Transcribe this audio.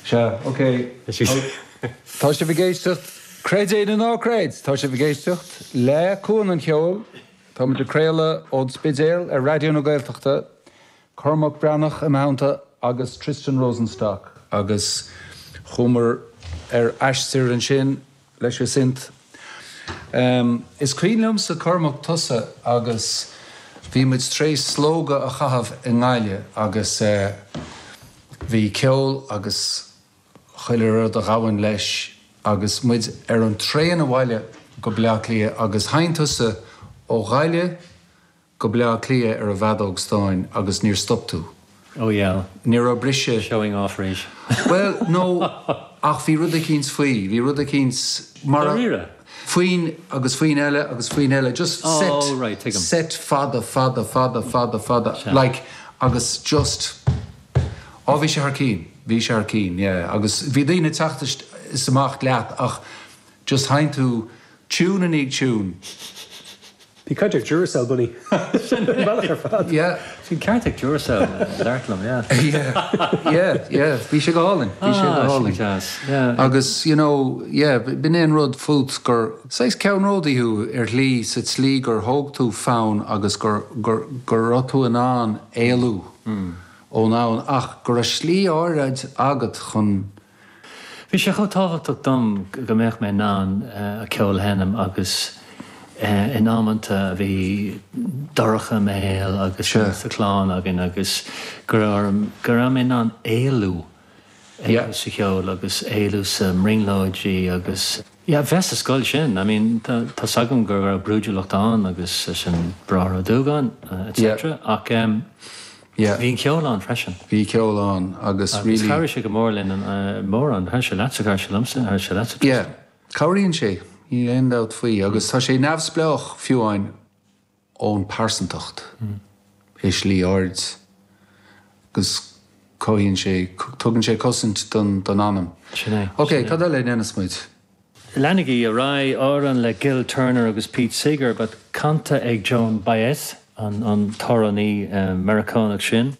Sea, ok. Tá sibh ag éisteacht, creid é nó ná creid, tá sibh ag éisteacht le Cuan an Cheoil. Tá muid ag craoladh ón Spidéal ar Raidió na Gaeltachta. Cormac Breathnach i mo theannta agus Tristan Rosenstock agus chuamar ar aistear ansin leis an synth. Is cuimhin liomsa Cormac tusa agus bhí muid tar éis slógadh a chaitheamh i nGaillimh agus bhí ceol agus chuile rud a ghabhann leis agus muid ar an traein abhaile go Bleá Cliath agus sheinn tusa ó Ghaillimh go Bleá Cliath ar an bhfeadóg stáin agus níor stop tú. Oh yeah. Ní raibh briseadh. Showing off arís. Bhuel, no, ach bhí rud eicínt faoi, bhí rud eicínt mar a. Dáiríre? Foinn agus foinn eile agus foinn eile, just set. Oh right, tuigim. Set fada, fada, fada, fada, fada, Sea. like, agus just, oh bhí sé thar cinn, bhí sé thar cinn, yeah, agus bhí daoine ag teacht is amach leat ach just sheinn tú tune i ndiaidh tune. Bhí caint ar Duracell Bunny. Sin an bealach ar fad. Yeah. Bhí ceart ag Duracell labhairt liom, yeah. Yeah, yeah, yeah. Bhí sé go hálainn. Bhí sé go hálainn. Ah, sin deas. Yeah. Agus, you know, yeah, b'in é an rud fút gur saghas ceannródaí thú ar shlí sa tslí gur thóg tú fonn agus gur, gur, go raibh tú in ann éalú ón fhonn ach go raibh slí áirid agat chun Bhí sé chomh tábhachtach dom go mbeadh mé in ann ceol a sheinm agus in amanta a bhí dorcha i mo shaol agus sa chlann againn agus go raibh go raibh mé in ann éalú sa cheol agus éalú sa mbrionglóidí agus yeah bheith sa scoil sin I mean tá tá's agam go raibh brúidiúlacht ann agus leis an Bráthair Ó Dúgáin etc ach Yeah. Bhí an ceol ann freisin. Bhí ceol ann agus really. Agus chabhraigh sé go mór linn mórán. Chabhraigh sé leatsa, chabhraigh sé liomsa, chabhraigh sé leatsa. Yeah. Cabhraíonn sé, níl aon dabht faoi. Agus tá sé neamhspleách fiú amháin ón pearsantacht i slí áirid agus cothaíonn sé, tugann sé cosaint don anam. Sin é. Ok, cad eile a dhéanfas muid? Leanaigí ar aghaidh, amhrán le Gil Turner agus Pete Seeger, but canta ag Joan Baez, an t-amhránaí Meiriceánach sin.